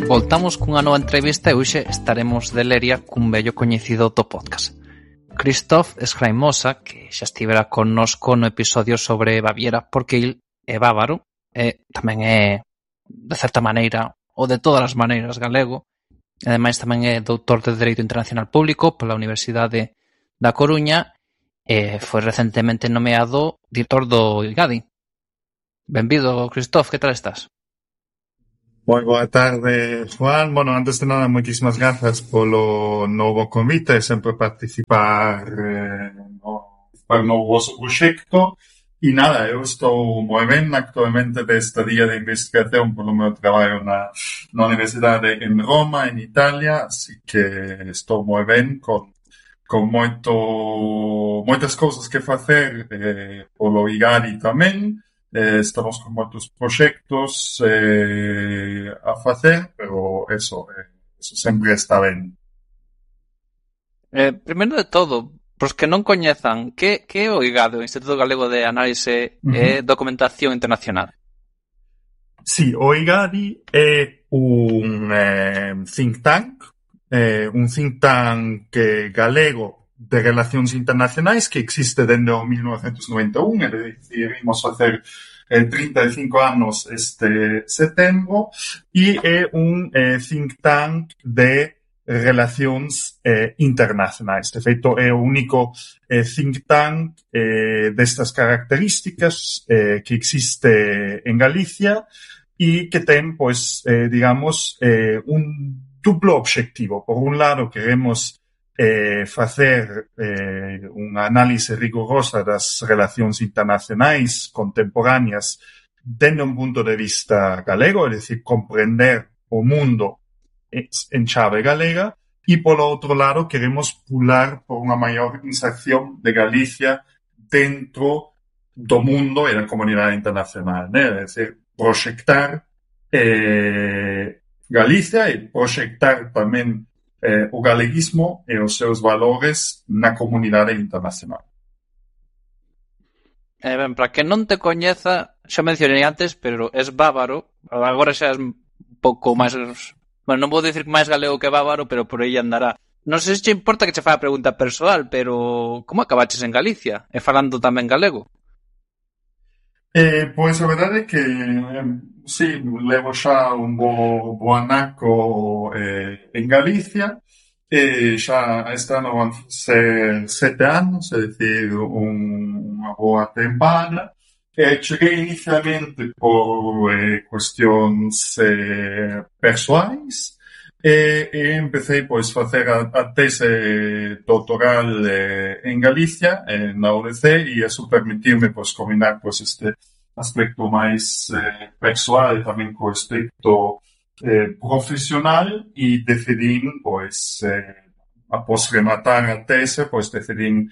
Voltamos cunha nova entrevista e hoxe estaremos de leria cun vello coñecido do podcast. Christoph Schreimosa, que xa estivera connosco no episodio sobre Baviera, porque il é bávaro, e tamén é, de certa maneira, ou de todas as maneiras, galego, e ademais tamén é doutor de Dereito Internacional Público pola Universidade da Coruña e foi recentemente nomeado director do IGADI. Benvido, Christoph, que tal estás? Moi boa tarde, Juan. Bueno, antes de nada, moitísimas grazas polo novo convite, sempre participar no vosso proxecto. E nada, eu estou moi ben actualmente desta día de investigación polo meu traballo na Universidade en Roma, en Italia, así que estou moi ben con moitas cousas que facer polo IGADI tamén. Estamos con moitos proxectos a facer, pero eso sempre está ben. Primeiro de todo, pros que non coñezan, que é o IGADI, o Instituto Galego de Análise e Documentación Internacional? Sí, o IGADI é un think tank galego de relacións internacionais que existe dende o 1991, e decidimos facer 35 anos este setembro, e é un think tank de relacións internacionais. De feito, é o único think tank destas características que existe en Galicia e que ten, pois, digamos, un duplo obxectivo. Por un lado, queremos facer unha análise rigorosa das relacións internacionais contemporáneas dende un punto de vista galego, é dicir, comprender o mundo en chave galega, e polo outro lado queremos pular por unha maior inserción de Galicia dentro do mundo e da comunidade internacional, né? É dicir, proxectar Galicia e proxectar tamén o galeguismo e os seus valores na comunidade internacional. Ben, para que non te coñeza, xa mencionei antes, pero es bávaro, agora xa é un pouco máis... Bueno, non vou dicir máis galego que bávaro, pero por aí andará. Non sei se te importa que che faga a pregunta persoal, pero como acabaches en Galicia? E falando tamén galego? Pois a verdade é que sí, levo xa un bo anaco en Galicia, xa este ano van ser 7 anos, é dicir, unha boa tempada. Cheguei inicialmente por cuestións persoais e empecé, pois, facer a tese doutoral en Galicia, na UDC, e eso permitirme, pois, combinar, pois, este aspecto máis persoal e tamén co aspecto profesional, e decidín, pois, após rematar a tese, pois, decidín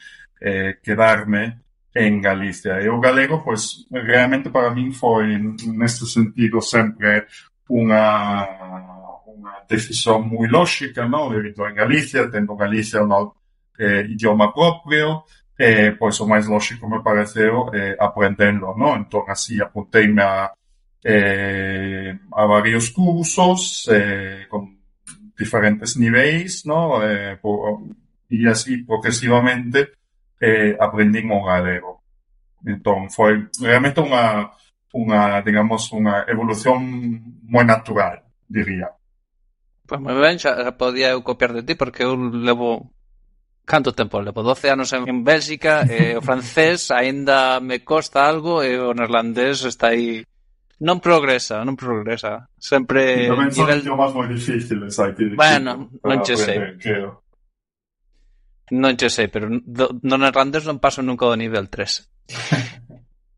quedarme en Galicia. E o galego, pois, realmente para min foi, neste sentido, sempre unha decisión moi lógica, non? Debido en Galicia, tendo Galicia un idioma propio, pois o máis lógico me pareceu aprendendo, non? Entón, así, apunteime a varios cursos con diferentes niveis, non? E así, progresivamente, aprendín o galego. Entón, foi realmente digamos, unha evolución moi natural, diría. Pois moi ben, xa podía eu copiar de ti, porque eu levo... Canto tempo? Levo 12 anos en Bélxica, e o francés aínda me costa algo, e o neerlandés está aí... Non progresa. Sempre... Tamén son idiomas moi difíciles, hai que... Bueno, non che sei. Creo. Non che sei, pero no neerlandés non paso nunca do nivel 3.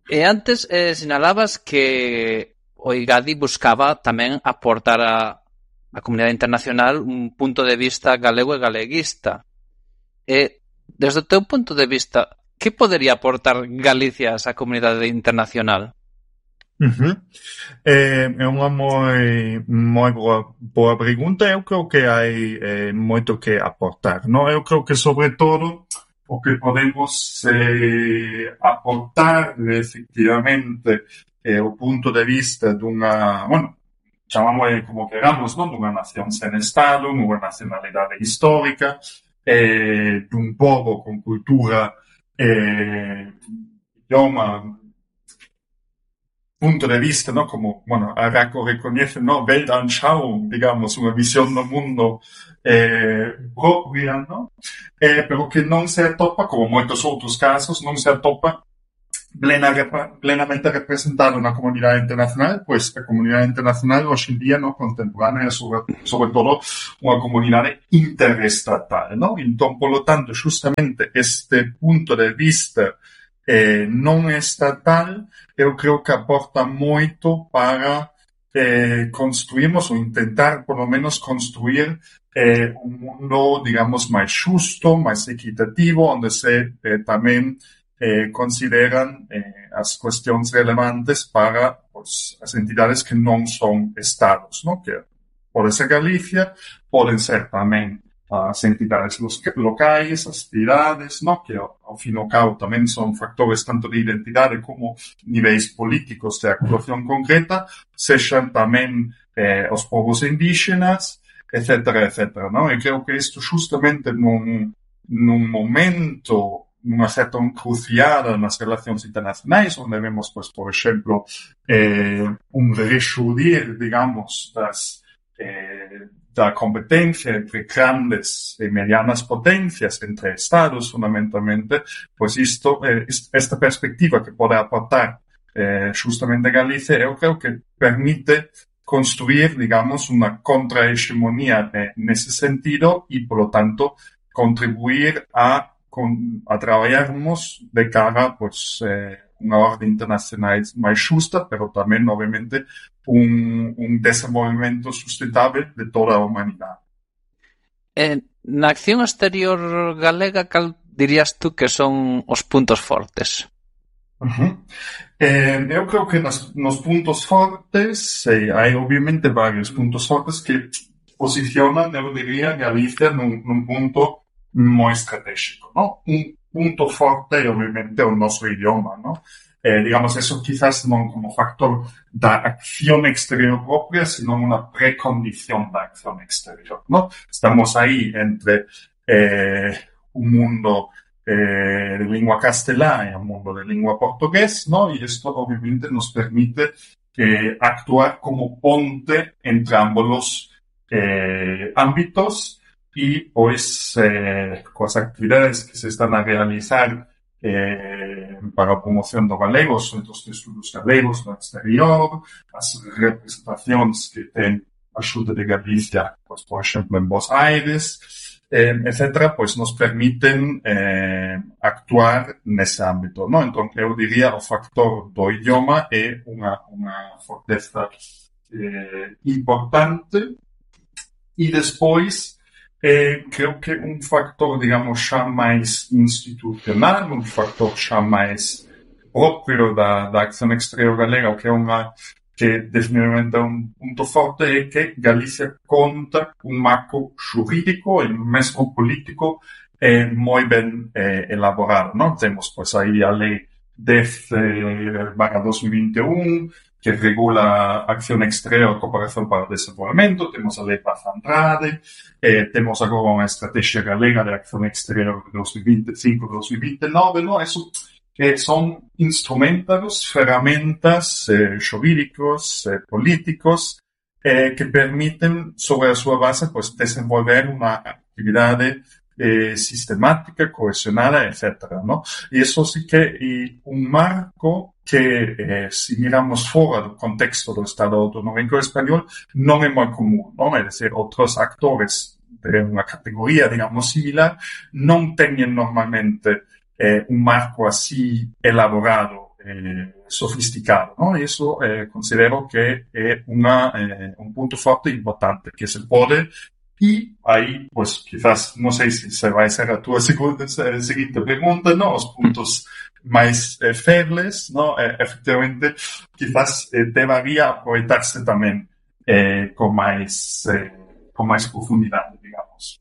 E antes sinalabas que o IGADI buscaba tamén aportar a comunidade internacional un punto de vista galego e galeguista. E, desde o teu punto de vista, que podería aportar Galicia a esa comunidade internacional? É unha moi boa pregunta. Eu creo que hai moito que aportar, non? Eu creo que, sobre todo, o que podemos aportar, efectivamente, o punto de vista dunha... Bueno, chamamos como queramos, non? Dunha nación sen Estado, dunha nacionalidade histórica, dun pobo con cultura, idioma, punto de vista, ¿no? Como, bueno, Araco reconoce, ¿no? Weltanschauung, digamos, unha visión do mundo propia, ¿no? Pero que non se atopa, como moitos outros casos, non se atopa plenamente representada na comunidade internacional, pois a comunidade internacional hoxe en día, no, contemporánea, sobre todo unha comunidade interestatal, no? Entón, polo tanto, justamente este punto de vista non estatal, eu creo que aporta moito para construirmos ou intentar, por lo menos, construir un mundo, digamos, máis xusto, máis equitativo, onde se tamén consideran as cuestións relevantes para pues, as entidades que non son estados, ¿no? Que pode ser Galicia, poden ser tamén as entidades locais, as cidades, ¿no? Que ao fin e ao cabo tamén son factores tanto de identidade como niveis políticos de actuación concreta, sexan tamén os povos indígenas, etcétera, etcétera, ¿no? E creo que isto justamente nun momento, nunha certa encruciada nas relacións internacionais, onde vemos, pues, por exemplo, un rexudir, digamos, da competencia entre grandes e medianas potencias, entre estados, fundamentalmente, pues isto, esta perspectiva que pode aportar justamente Galicia, eu creo que permite construir, digamos, unha contrahegemonía nese sentido e, polo tanto, contribuir a traballarmos de cara, pues, unha orde internacional máis xusta, pero tamén, obviamente, un desenvolvemento sustentable de toda a humanidade. Na acción exterior galega, cal dirías tú que son os puntos fortes? Eu creo que nos puntos fortes hai, obviamente, varios puntos fortes que posicionan, eu diría, Galicia nun punto moi estratégico, ¿no? Un punto forte, obviamente, o noso idioma, ¿no? Digamos, eso quizás non como factor da acción exterior propia, sino unha precondición da acción exterior, ¿no? Estamos aí entre un mundo de lingua castelá e un mundo de lingua portugués, ¿no? Y esto, obviamente, nos permite actuar como ponte entre ambos los ámbitos. Y pues coas actividades que se están a realizar para a promoción do galego, os centros de estudos galegos no exterior, as representacións que ten a Xunta de Galicia, pues, por exemplo, en Buenos Aires, etcétera, pues nos permiten actuar nese ámbito, ¿no? Entón, eu diría o factor do idioma é unha forteza importante. E despois creo que un factor, digamos, xa máis institucional, un factor xa máis propio da acción exterior galega, que definitivamente é un punto forte, é que Galicia conta un marco xurídico e mesmo político moi ben elaborado, non? Temos, pois, aí a lei 10/2021, que regula acción exterior e cooperación para o desenvolvemento, temos a lei Paz Andrade, temos agora unha estrategia galega de acción exterior de 2025-2029, ¿no? Eso son instrumentos, ferramentas xurídicos, políticos, que permiten, sobre a súa base, pues, desenvolver unha actividade sistemática, cohesionada, etcétera, ¿no? Y eso sí que un marco que, si miramos fora do contexto do Estado autonómico español, non é moi común, ¿no? É dicir, outros actores de unha categoría, digamos, similar, non teñen normalmente un marco así elaborado, sofisticado, ¿no? Y eso considero que é un punto forte e importante, que se pode. Y ahí, pues, quizás, no sé si se va a ser a tu siguiente pregunta, ¿no? Os puntos máis febles, ¿no? Efectivamente, quizás debería aproveitarse tamén con máis profundidade, digamos.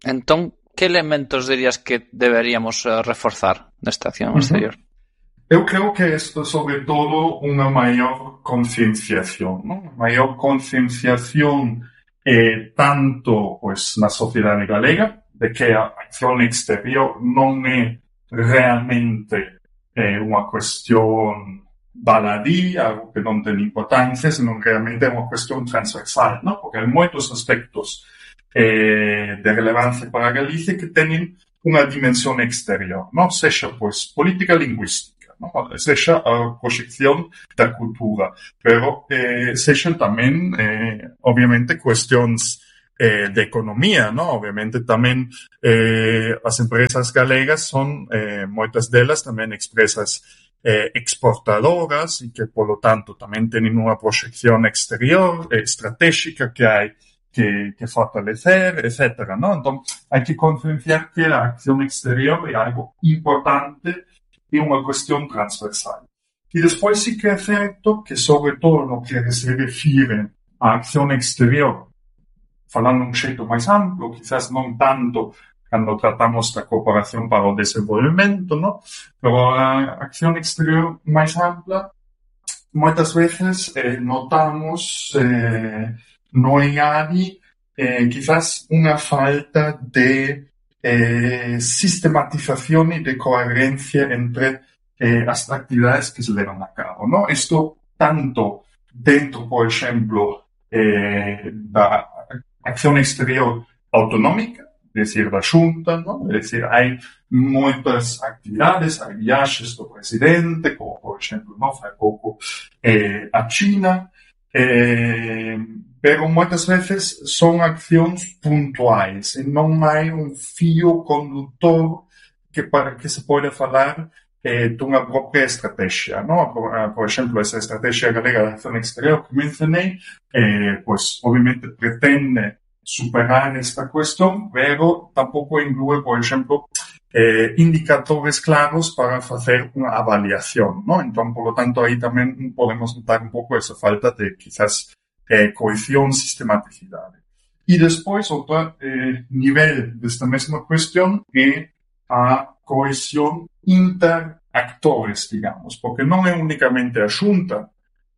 Entón, que elementos dirías que deberíamos reforzar nesta acción exterior? Eu creo que esto es sobre todo una mayor concienciación, ¿no? Una mayor concienciación tanto pues na sociedade galega de que a acción exterior non é realmente unha cuestión baladí, algo que non ten importancia, senón realmente é unha cuestión transversal, ¿no? Porque hai moitos aspectos de relevancia para Galicia que teñen unha dimensión exterior, ¿no? Sexa, pois, política lingüística, ¿no? Sexa a proxección da cultura, pero sexan tamén, obviamente, cuestións de economía, ¿no? Obviamente tamén as empresas galegas son, moitas delas tamén expresas exportadoras e que, polo tanto, tamén teñen unha proxección exterior estratégica que hai que fortalecer, etcétera, ¿no? Entón, hai que concienciar que a acción exterior é algo importante e unha cuestión transversal. E despois sí que é certo que, sobre todo no que se refire á acción exterior, falando un xeito máis amplo, quizás non tanto cando tratamos da cooperación para o desenvolvemento, ¿no? Pero a acción exterior máis ampla, moitas veces notamos no IADI quizás unha falta de sistematización e de coherencia entre as actividades que se levan a cabo, ¿no? Isto tanto dentro, por exemplo, da acción exterior autonómica, é dicir, da Xunta, ¿no? É dicir, hai moitas actividades, hai viaxes do presidente, como, por exemplo, ¿no? Fai pouco a China, pero moitas veces son accións puntuais e non hai un fío conductor que para que se pode falar dunha propia estrategia, ¿no? Por exemplo, esa estrategia galega de acción exterior que mencionei, pues obviamente pretende superar esta cuestión, pero tampouco inclúe, por exemplo, indicadores claros para facer unha avaliación, ¿no? Entón, por lo tanto, aí tamén podemos notar un pouco esa falta de, quizás, cohesión, sistematicidade. E despois, outro nivel desta mesma cuestión é a cohesión interactores, digamos, porque non é únicamente a Xunta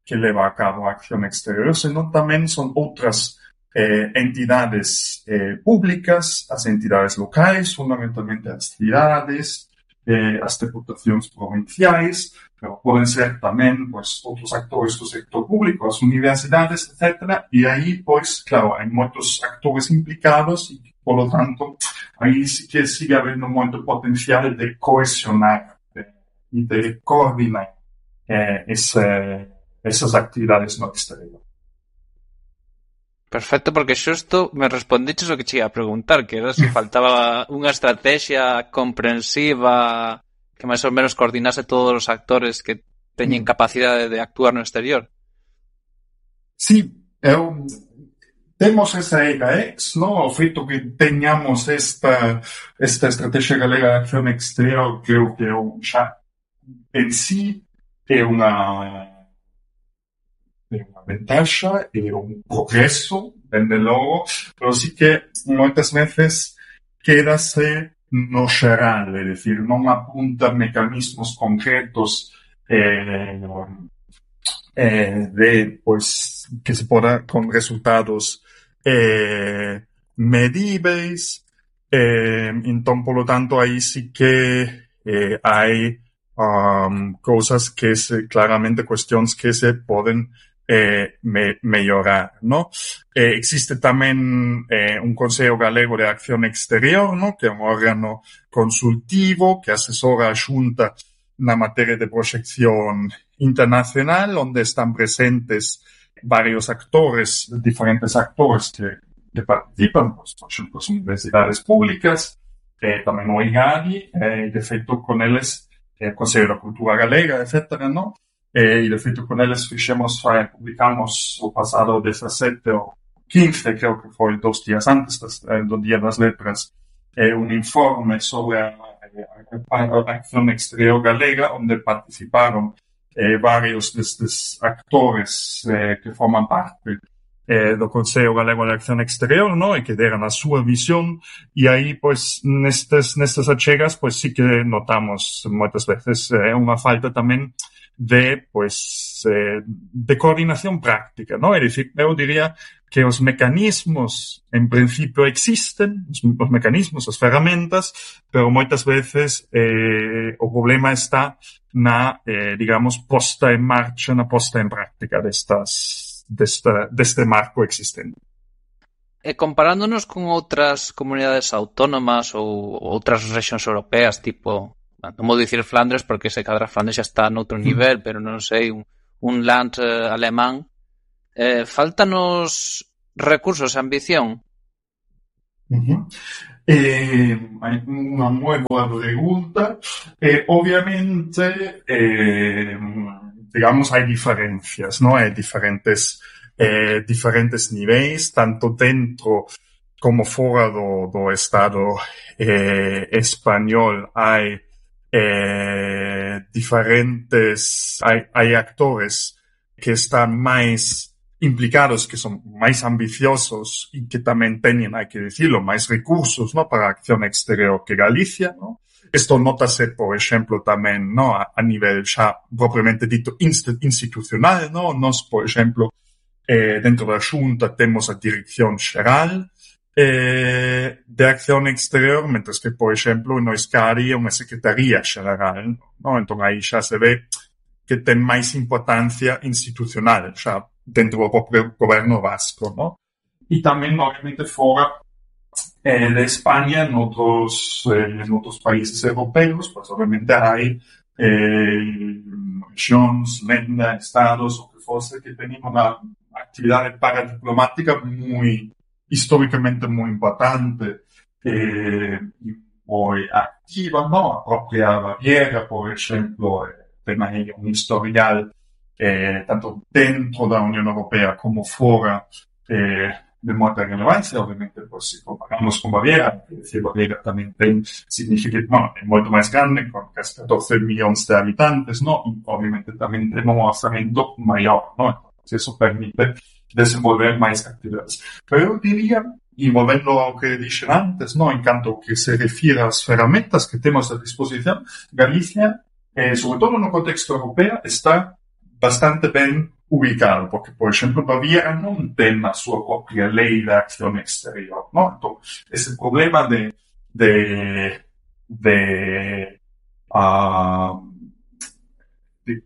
que leva a cabo a acción exterior, senón tamén son outras entidades públicas, as entidades locais, fundamentalmente as cidades, as deputacións provinciais, pero poden ser tamén pues, outros actores do sector público, as universidades, etc. E aí, pois, claro, hai moitos actores implicados e, por lo tanto, aí sí que sigue habendo moito potencial de cohesionar e de coordinar esas actividades no exterior. Perfecto, porque xusto me respondiches o que che ia a preguntar, que era se faltaba unha estrategia comprensiva que máis ou menos coordinase todos os actores que teñen capacidade de actuar no exterior. Sí, temos esa EGAEX, ¿no? O feito que teñamos esta estrategia galega de acción exterior, creo que xa en sí é unha ventaxa e un progreso, dende logo, pero sí que moitas veces quédase no xeral, é dicir, non apunta mecanismos concretos pois, que se poda con resultados medíveis, entón, polo tanto, aí sí que hai cousas que claramente cuestións que se poden mellorar, ¿no? Existe tamén un Consello Galego de Acción Exterior, ¿no? Que é un órgano consultivo que asesora a Xunta na materia de proxección internacional, onde están presentes varios actores, diferentes actores que participan, pues, por exemplo, as universidades públicas, tamén o IGADI, de feito, con eles, o Consello da Cultura Galega, etc., ¿no? E de feito con eles publicamos o pasado 17 ou 15, creo que foi 2 días antes do Día das Letras, un informe sobre a acción exterior galega, onde participaron varios destes actores que forman parte do Consello Galego de Acción Exterior, no? E que deran a súa visión, e aí, pois, nestas achegas, pois, sí que notamos moitas veces unha falta tamén de, pois, de coordinación práctica, no? É dicir, eu diría que os mecanismos, en principio, existen, os mecanismos, as ferramentas, pero moitas veces o problema está na, digamos, posta en marcha, na posta en práctica deste marco existente. E comparándonos con outras comunidades autónomas ou outras rexións europeas, tipo, non vou dicir Flandres porque se cadra Flandres xa está noutro nivel, pero non sei, un land alemán, faltanos recursos e ambición? Hai unha moi boa pregunta. Obviamente, digamos, hai diferencias, ¿no? Hai diferentes niveis, tanto dentro como fora do Estado español. Hai diferentes, hai actores que están máis implicados, que son máis ambiciosos e que tamén teñen, hai que dicilo, máis recursos, ¿no? Para a acción exterior que Galicia, ¿no? Isto notase, por exemplo, tamén, ¿no? A nivel xa propriamente dito institucional, ¿no? Nos, por exemplo, dentro da Xunta temos a Dirección Xeral de Acción Exterior, mentres que, por exemplo, no Escari é unha Secretaría Xeral, ¿no? Entón aí xa se ve que ten máis importancia institucional, xa dentro do propio goberno vasco, ¿no? E tamén, obviamente, fora de España, noutros países europeos, pues obviamente hai regións, lenda, estados, o que fose, que teñen unha actividade paradiplomática históricamente moi importante e moi activa, ¿no? A propia Baviera, por exemplo, ten aí un historial tanto dentro da Unión Europea como fora de moita relevancia. Obviamente, pues, se comparamos con Baviera, que decir, Baviera tamén ten significado, bueno, é moito máis grande, con casi 14 millóns de habitantes, ¿no? E obviamente tamén ten un orzamento maior, ¿no? Entonces, eso permite desenvolver máis actividades. Pero eu diría, e volvendo ao que dixen antes, ¿no? En canto que se refire ás ferramentas que temos a disposición, Galicia, sobre todo no contexto europeo, está bastante ben ubicado, porque, por exemplo, Baviera non ten a súa propia lei de acción exterior, ¿no? Entón, ese problema de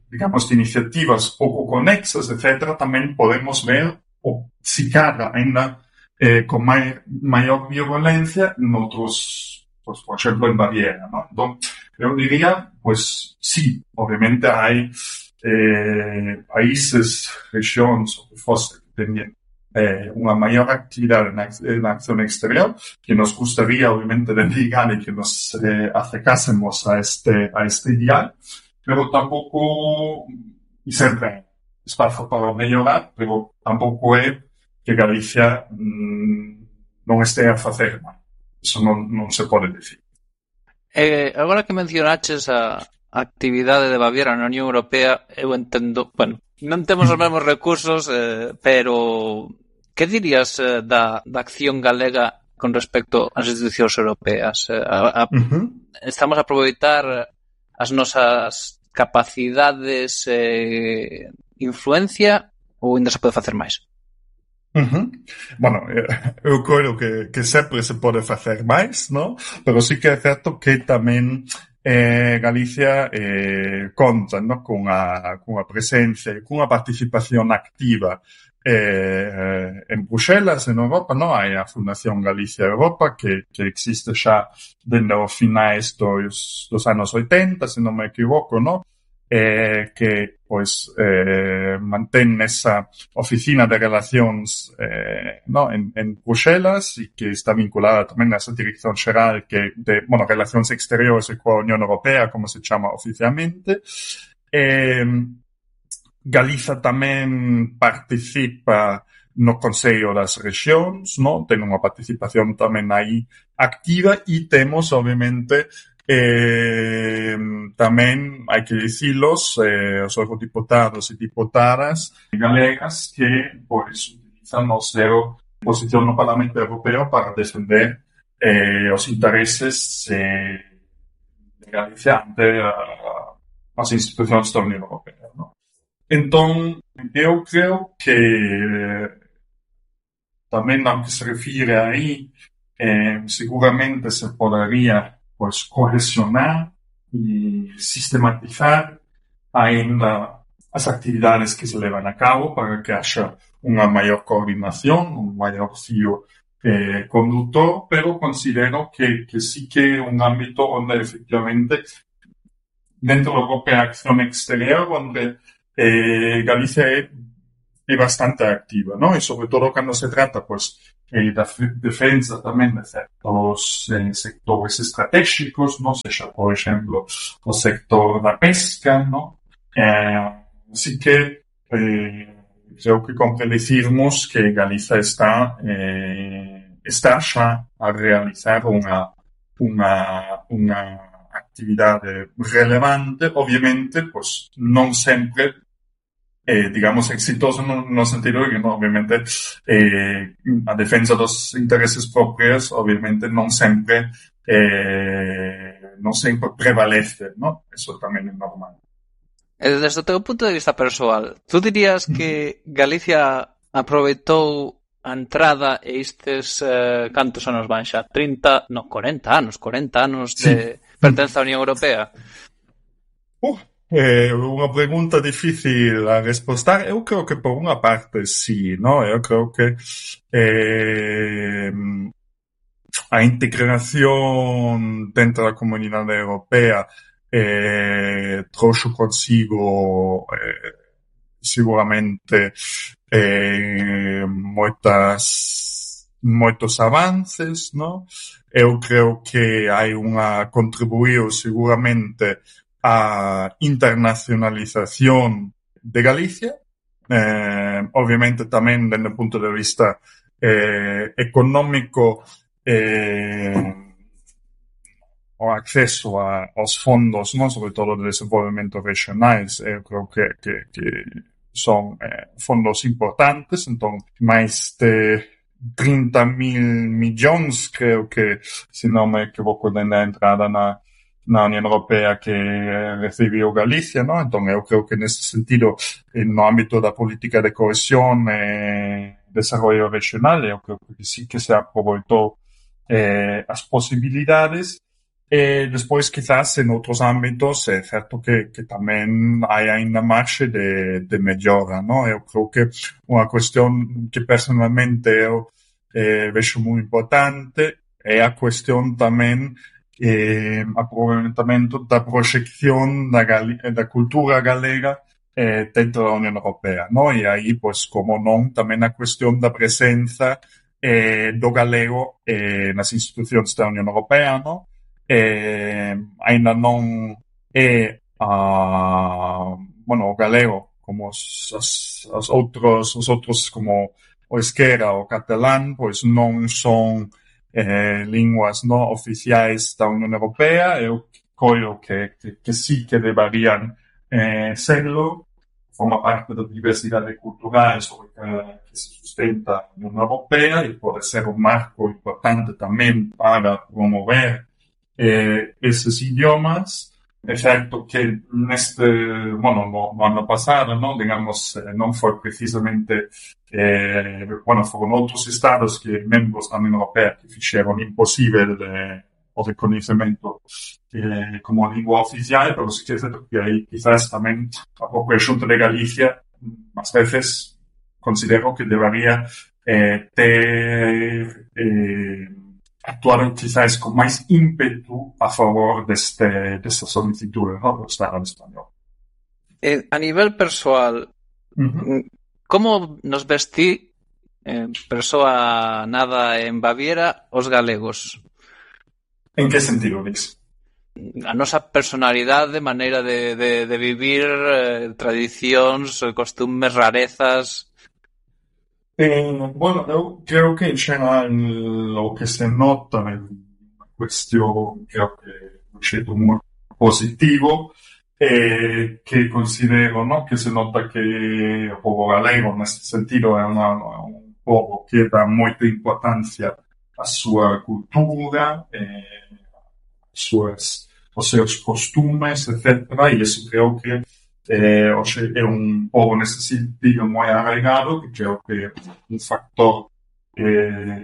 digamos, de iniciativas pouco conexas, etc., tamén podemos ver, ou si cadra ainda con maior violencia noutros, pues, por exemplo, en Baviera, ¿no? Entón, eu diría, pues, sí, obviamente hai países, regións, o que fose, que teñen unha maior actividade na acción exterior, que nos gustaría, obviamente, dedicar e que nos acercásemos a este ideal, pero tampouco, e sempre espazo para mellorar, pero tampouco é que Galicia non estea a facer mal. Eso non se pode dicir. Agora que mencionaches a actividade de Baviera na Unión Europea, eu entendo, bueno, non temos os mesmos recursos, pero que dirías da acción galega con respecto ás institucións europeas? Estamos a aproveitar as nosas capacidades, influencia, ou ainda se pode facer máis? Bueno, eu creo que sempre se pode facer máis, ¿no? Pero sí que é certo que tamén Galicia conta, ¿no? cunha presencia e cunha participación activa en Bruxelas, en Europa, ¿no? Hai a Fundación Galicia Europa que existe xa dende os finais dos anos 80, se non me equivoco, ¿no? Que pois mantén esa oficina de relacións no, en Bruxelas e que está vinculada tamén a esa dirección xeral que de, bueno, relacións exteriores coa Unión Europea, como se chama oficialmente. Galiza tamén participa no Consello das Rexións, no? Ten unha participación tamén aí activa e temos, obviamente, tamén hai que dicilos os eurodiputados e diputadas galegas que pois quizá no cero posición no Parlamento Europeo para defender os intereses de Galicia ante as institucións da Unión Europea, ¿no? Entón, eu creo que tamén ao que se refire aí, seguramente se podería pues, cohesionar e sistematizar ainda as actividades que se levan a cabo para que haxa unha maior coordinación, un maior fío conductor, pero considero que sí que é un ámbito onde efectivamente dentro da propia acción exterior onde Galicia é bastante activa, ¿no? E sobre todo cando se trata, pues, da defensa tamén de certos sectores estratégicos, ¿no? Sexa, por exemplo, o sector da pesca, ¿no? Así que creo que compre dicirmos que Galiza está xa a realizar unha actividade relevante, obviamente, pues, non sempre digamos, exitoso no sentido de que, no, obviamente, a defensa dos intereses propios, obviamente, non sempre prevalece, ¿no? Eso tamén é normal. Desde o teu punto de vista persoal, tú dirías que Galicia aproveitou a entrada e estes cantos anos van xa? 40 anos de pertenza á Unión Europea? Unha pregunta difícil a respostar. Eu creo que por unha parte sí, ¿no? Eu creo que a integración dentro da Comunidade Europea trouxo consigo seguramente moitos avances, ¿no? Eu creo que hai contribuíu seguramente a internacionalización de Galicia, obviamente tamén dende o punto de vista económico, o acceso aos fondos, non, sobre todo de desenvolvemento regionais, eu creo que son fondos importantes, entón máis de 30.000 millóns, creo que, se non me equivoco, dende a entrada na Unión Europea que recibiu Galicia, ¿no? Entón, eu creo que nesse sentido, no ámbito da política de cohesión e desarrollo regional, eu creo que sí que se aproveitou as posibilidades. Despois, quizás, en outros ámbitos, é certo que tamén hai ainda marxe de mellora, ¿no? Eu creo que unha cuestión que personalmente eu vexo moi importante é a cuestión tamén aproveitamento da proxección da cultura galega dentro da Unión Europea, ¿no? E aí, pues, como non, tamén a cuestión da presenza do galego nas institucións da Unión Europea, ¿no? Ainda non é o galego como os outros como o euskera ou o catalán, pois non son linguas no oficiais da Unión Europea. Eu coio que sí que deberían serlo, forma parte da diversidade cultural sobre que se sustenta a Unión Europea e pode ser un marco importante tamén para promover esos idiomas. É certo que no ano pasado, ¿no? Digamos, non foi precisamente foron outros estados que membros da Unión Europea que fixeron imposible o reconhecimento como lingua oficial, pero sí que é certo que aí quizás tamén a propia Xunta de Galicia ás veces considero que debería ter actuaron quizás con máis ímpetu a favor desta solicitude, ¿no? Do Estado español. A nivel persoal, como nos ves ti, persoa nada en Baviera, os galegos? En que sentido, Luis? A nosa personalidade, maneira de vivir, tradicións, costumes, rarezas. Eu creo que en xeral o que se nota é unha cuestión, creo que un xeito moi positivo, que considero, ¿no? Que se nota que o povo galego neste sentido é povo que dá moita importancia á súa cultura, os seus costumes, etc. E iso creo que hoxe é un povo nese sentido moi arraigado, que creo que é un factor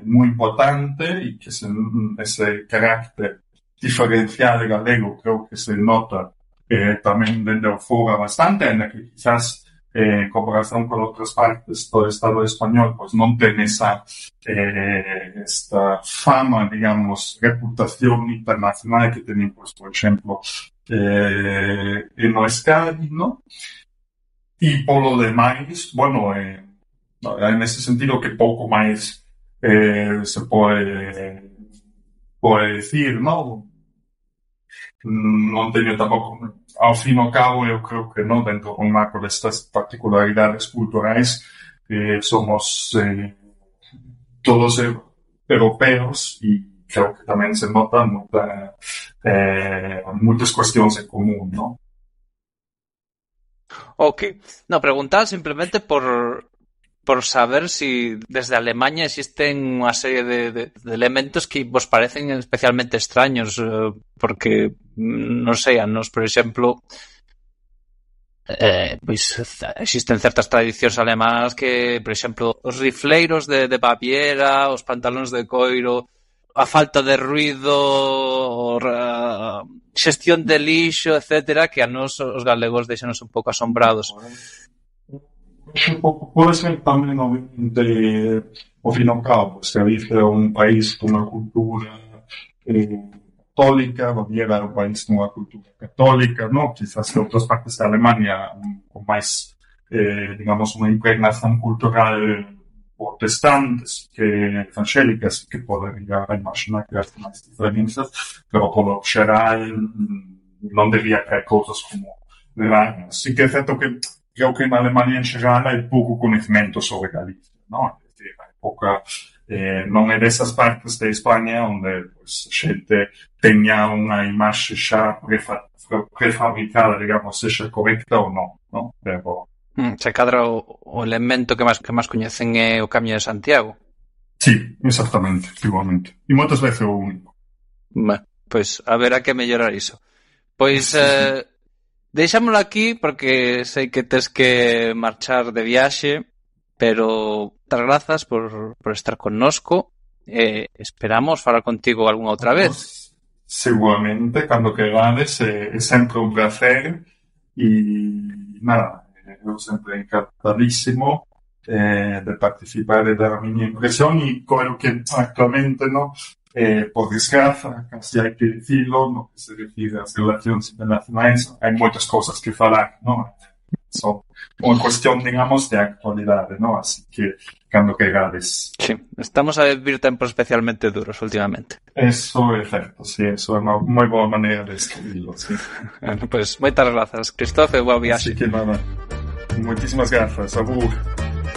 moi importante e que ese carácter diferencial galego creo que se nota tamén dende o fora bastante, en que quizás en comparación con outras partes do Estado español, pues non ten esta fama, digamos, reputación internacional que teñen, pues, por exemplo, en o Escadi, ¿no? E polo demais, bueno, en ese sentido que pouco máis se pode decir, ¿no? Non teño tampouco, ao fin e ao cabo, eu creo que non, dentro do marco destas particularidades culturais, somos todos europeos e creo que tamén se notan moitas cuestións en común, ¿no? Ok. No, preguntaba simplemente por saber si desde Alemania existen unha serie de elementos que vos parecen especialmente extraños, porque, non sei, a nos, por exemplo, pois existen certas tradicións alemás que, por exemplo, os rifleiros de Baviera, os pantalóns de coiro, a falta de ruido, xestión de lixo, etcétera, que a nos os galegos deixanos un pouco asombrados. Pode ser tamén obviamente ao fin e ao cabo, se Galicia é un país con unha cultura católica, Baviera é un país con unha cultura católica, no? Quizás en outras partes da Alemania con máis, digamos, unha impregnación cultural protestantes que evangélicas, que pode llegar a imaginar que hasta máis diferencias, pero polo xeral non debería caer cousas como raras. Sí que é certo que creo que en Alemania en xeral hai pouco conhecimento sobre Galicia, ¿no? Es decir, hai pouca, non é desas partes de España onde pues, xente teña unha imaxe xa prefabricada, digamos, sexa correcta ou non, ¿no? Pero se cadra o elemento que máis coñecen é o Camiño de Santiago. Sí, exactamente, igualmente. E moitas veces o único. Pois haberá que mellorar iso. Pois deixámoslo aquí porque sei que tes que marchar de viaxe, pero moitas grazas por estar connosco. Esperamos falar contigo algunha outra vez. Seguramente, cando querades, é sempre un placer e nada, eu sempre encantadísimo de participar e dar a miña impresión e creo que actualmente, no, por desgraza, casi hai que dicilo, no que se refire ás relacións internacionais, hai moitas cousas que falar, no? Son unha cuestión, digamos, de actualidade, no? Así que, cando querades. Sí, estamos a vivir tempos especialmente duros últimamente. Eso é certo, sí, eso é unha moi boa maneira de escribirlo, sí. Pois, moitas grazas, Christophe, e boa viaxe. Así que nada, moitísimas grazas, abur.